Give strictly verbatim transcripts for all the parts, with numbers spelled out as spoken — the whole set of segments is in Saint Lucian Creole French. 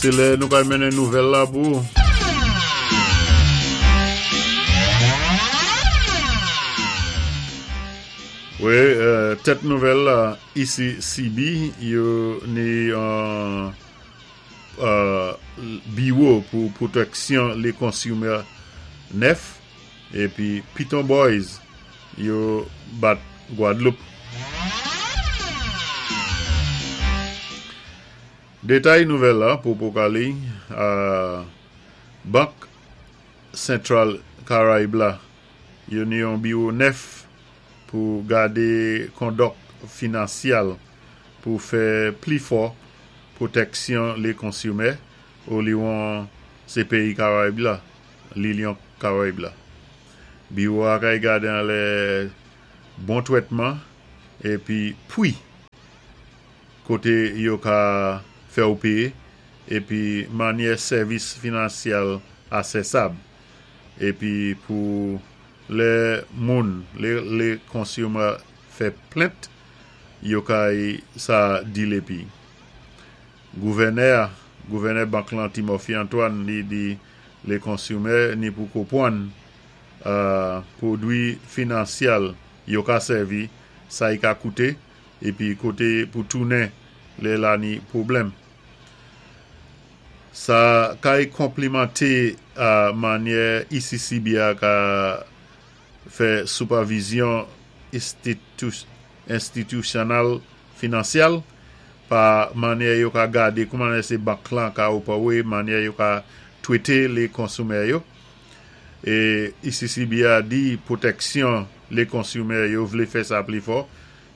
Sé lè nou kay mennen nouvèl la pou. Wi, euh, tèt nouvèl la, E C C B, yo ni yon euh, biwo pou pwotèksyon lé konsimè nèf, épi Piton Boys, yo bat Gwadloup. Détay nouvèl la pou Pokali, euh, Bank Sentral Karayib la, yo ni yon biwo nèf pou gadé kondòk finansyal pou fè pli fò pwotèksyon lé konsimè oliwon sé péyi Karayib la, Lilyon Karayib la. Biwo a kay gadé an lè bon twètman épi pwi koté yo ka fè ou péyé épi mannyè sèvis finansyal asèsab épi pou lè moun, lè, lé konsimè fè plent, yo kay sa dil épi. Gouvènè, gouvènè bank lan Timothy Antoine li di lé konsimè ni pou konpwann euh, pwodwi finansyal yo ka sèvi, sa y ka kouté, épi koté pou tounen lè la ni pwoblèm. Sa kay konplimanté a mannyè E C C B a ka fè sipèvizyon enstitisyonèl finansyal pa mannyè yo ka gadé kouman sé bank lan ka opéwé, mannyè yo ka twété lé konsimè yo. É E C C B a di pwotèksyon lé konsimè yo vlé fè sa pli fò,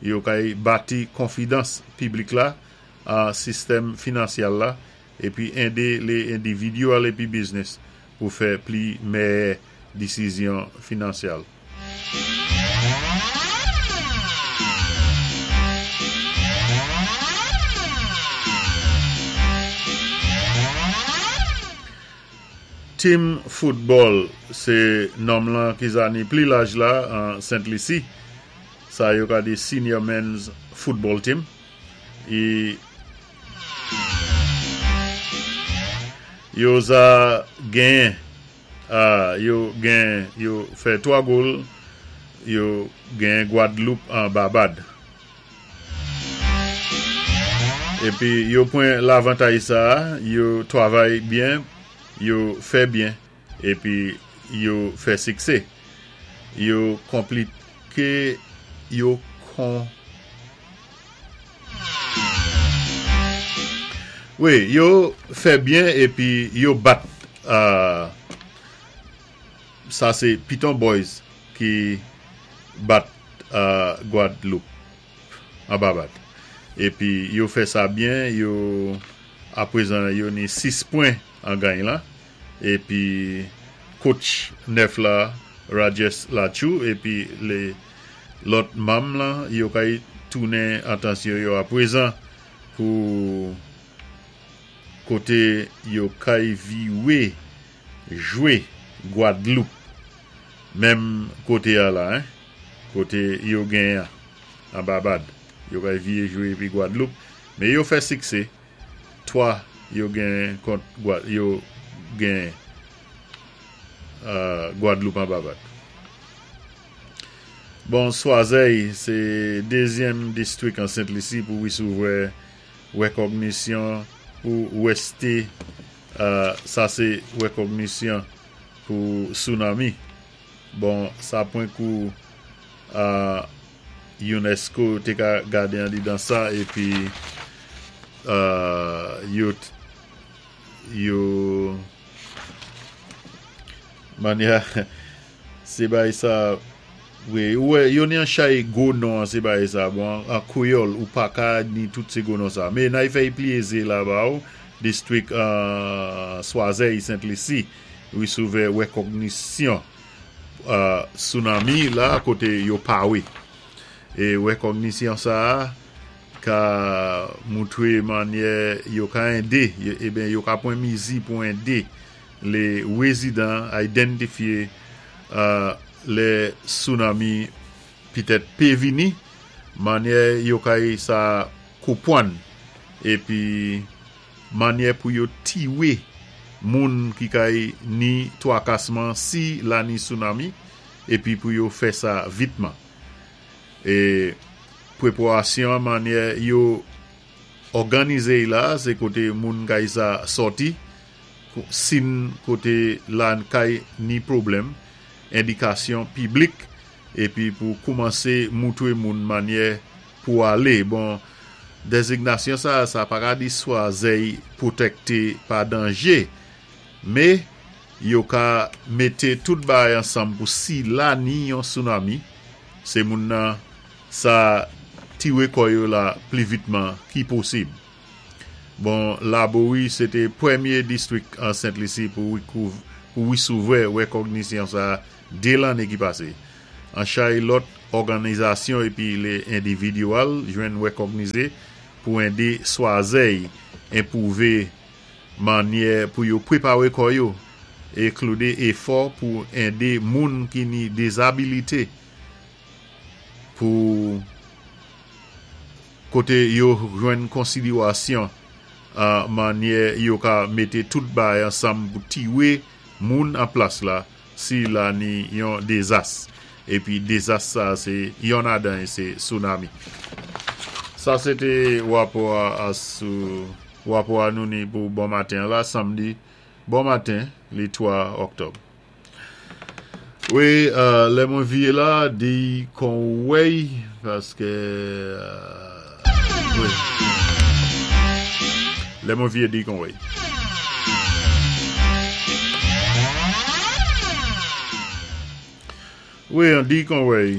yo kay bati konfidans piblik la a sistèm finansyal la épi édé lé endividyèl épi biznis pou fè pli mèyè désizyon finansyal. Team football sé nonm lan ki za ni pli laj la an Sent Lisi. Sa yo ka di senior men's football team. É yo za genyen, ah, yo gen, yo fè twa gòl, yo genyen Gwadloup an Babad. Épi yo pwan lavantay sa, yo twavay byen, yo fè byen, épi yo fè siksé. Yo konpliké, yo kon... Wi, yo fè byen épi yo bat euh, sa sé Piton Boys ki bat euh, Gwadloup an Babad. Épi yo fè sa byen, yo aprezan yo ni sis pwen an gany la. Épi coach nèf la, Rajesh Lachou, épi lé lòt manm la, yo kay tounen atansyon yo aprezan pou koté yo kay viwé jwé Gwadloup menm koté a la, hein, koté yo genyen an Babad. Yo kay viwé jwé épi Gwadloup, men yo fè siksé. Twa yo genyen kont Gwad, yo genyen euh, Gwadloup an Babad. Bon, Swazey, sé dézyèm distwik an Sent Lisi pou wisouvrè wékògnisyon pou wésté, euh, sa sé wékògnisyon pou tsunami. Bon, sa pwen kou euh, UNESCO té ka gadé an di dan sa épi euh, yo yo mannyè sé bay sa wi, wè, yo ni an chay gwo non an sé bay sa, bon, an kwéyòl ou pa ka ni tout sé gwo non sa. Men nay fè pli ézé la ba ou, distwik euh, Swazey Sent Lisi, wisouvrè wékògnisyon euh, tsunami la koté yo pawé. É wékògnisyon sa ka moutwé mannyè yo ka édé, ében yo ka pwan mizi pou édé lé wézidan idantifyé euh, lé tsunami pitèt pé vini, mannyè yo kay sa konpwann épi Manyè pou yo tiwé moun ki kay ni twakasman si la ni tsunami épi pou yo fè sa vitman. É pwépawansyon manyè yo òganizé la, sé koté moun kay sa sòti, sin koté la kay ni pwoblèm, endikasyon piblik, épi pou koumansé moutwé moun manyè pou alé. Bon, dézignasyon sa, sa pa ka di Swazèy pwotèkté pa danjé, mé yo ka mété tout bagay ansanm pou si la ni yon tsunami, sé moun nan sa tiwé kò yo la pli vitman ki posib. Bon, Laborie, sé té pwémyé distwik an Sent Lisi pou pou wisouvè wékògnisyon sa dé lanné ki pasé. An chay lòt òganizasyon épi lé endividyèl jwenn wékògnizé pou édé Swazèy enpwouvé manyè pou yo pwépawé kò yo é kloudé éfò pou édé moun ki ni dezabilité pou koté yo jwenn konsidéwasyon an manyè yo ka mété tout bagay ansanm pou tiwé moun an plas la si la ni yon dézas. Épi dézas sa sé yon adan sé tsunami. Sa sé té wapò a sou wapò a nou ni pou bon maten la samdi bon maten li twa òktòb. Wi, euh, lè mwen viyé la di kon wèy paské euh, wi. Lè mwen viyé di kon wèy. Wi, an di kon wèy,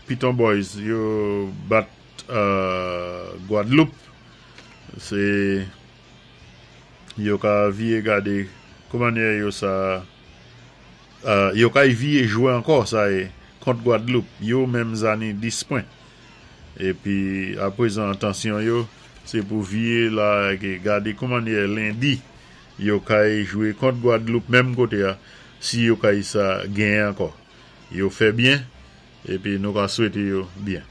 Piton Boys yo bat euh, Gwadloup. Sé yo ka viyé gadé kouman yo sa euh, yo kay viyé jwé ankò sa é kont Gwadloup. Yo menm za ni dis pwen. Épi apwézan atansyon yo sé pou viyé la gadé kouman lendi yo kay jwé kont Gwadloup menm koté a si yo kay sa genyen ankò. Yo fè byen épi nou ka swété yo byen.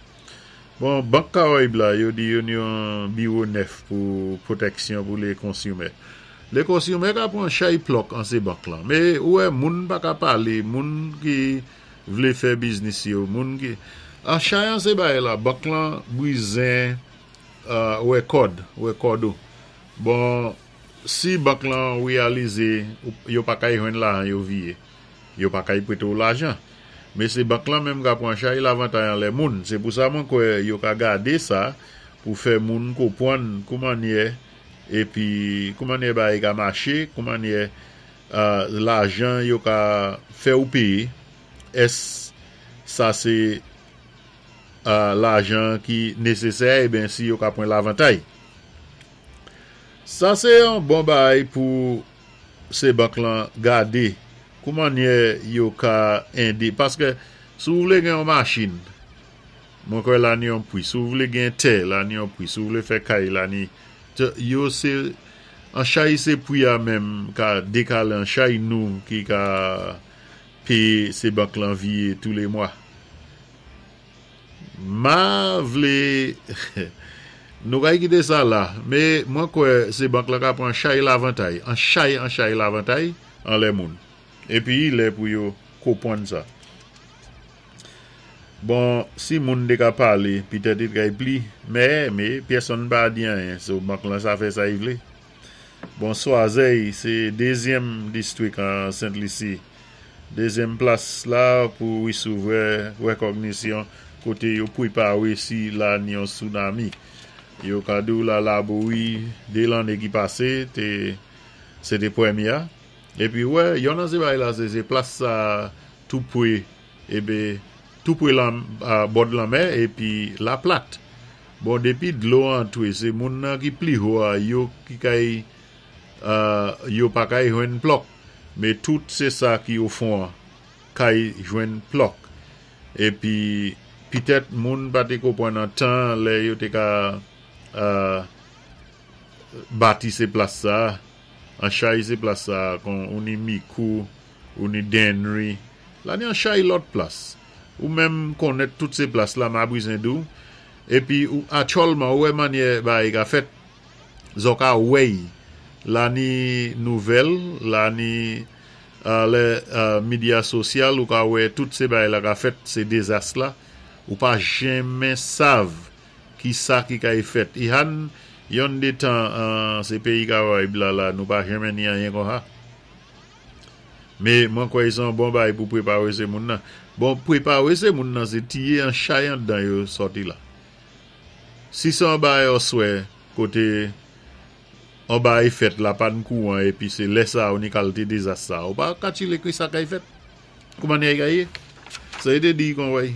Bon, Bank Karayib la, yo di yo ni yon biwo nèf pou pwotèksyon pou lé konsimè. Lé konsimè ka pwan chay plòk an sé bank lan. Mé ou wè moun pa ka palé, moun ki vlé fè biznis yo, moun ki an chay an sé bagay la, bank lan bwizen euh, wè kòd, wè kòd ou. Bon, si bank lan wéyalizé yo pa kay jwenn lajan yo viyé, yo pa kay pwété ou lajan. Mé sé bank lan menm ka pwan chay lavantay an lè moun. Sé pou sa mwen kwè yo ka gadé sa pou fè moun konpwann kouman épi kouman bagay ka maché, kouman euh, lajan yo ka fè ou péyé. Ès sa sé euh, lajan ki nésésè, ében si yo ka pwan lavantay. Sa sé yon bon bagay pou sé bank lan gadé kouman yo ka édé. Paské si ou vlé gen yon machin, mwen kwè la ni yon pwi. Si ou vlé gen tè, la ni yon pwi. Si ou vlé fè kay, la ni yo sé an chay sé pwi a menm ka dékalé an chay nou ki ka péyé sé bank lan viyé tou lé mwa. Ma vlé nou kay kité sa la, mé mwen kwè sé bank lan ka pwan chay lavantay, an chay an chay lavantay an lè moun. Épi lè pou yo konpwann sa. Bon, si moun té ka palé, pitèt i kay pli, mé, mé, pèsonn pa di anyen, so bank lan sa fè sa i vlé. Bon, Swazèy, sé dézyèm distwik an Sent Lisi. Dézyèm plas la pou wisouvè wékògnisyon koté yo pwépawé si la ni yon tsunami. Yo ka di ou la Laborie dé lanné ki pasé, té, sé té pwémyé. Épi wè, yon nan sé bagay la sé, sé plas sa tou pwé, ébé, tou pwé lan, bò lanmè épi la plat. Bon, dépi dlo antwé, sé moun nan ki pli wo a, yo ki kay, euh, yo pa kay jwenn plòk. Mé tout sé sa ki o fon an, kay jwenn plòk. Épi, pitèt moun pa té konpwann an tan lè yo té ka euh, bati sé plas sa, an chay sé plas sa, kon ou ni Mikou, ou ni Dennery, la ni an chay lòt plas. Ou menm konnèt tout sé plas la, ma bwizen di ou, épi ou atchòlman ou wè manyè bagay ka fèt, zò ka wèy, La ni nouvèl, la ni lè medya sosyal ou ka wè tout sé bagay la ka fèt, sé dezas la, ou pa jenmen sav ki sa ki kay fèt. Ihan yon de tan sé péyi Karayib la la, nou pa jenmen ni anyen kon sa. Mé mwen kwè sé yon bon bagay pou pwépawé sé moun nan. Bon, pwépawé sé moun nan sé tiyé an chay andan yo sòti la. Si sé an bagay oswè, koté an bagay fèt la pan kouwan épi sé lè sa ou ni kalité dezas sa, ou pa katilé ki sa kay fèt. Kouman ni ay kaye? Sa é té di kon wèy.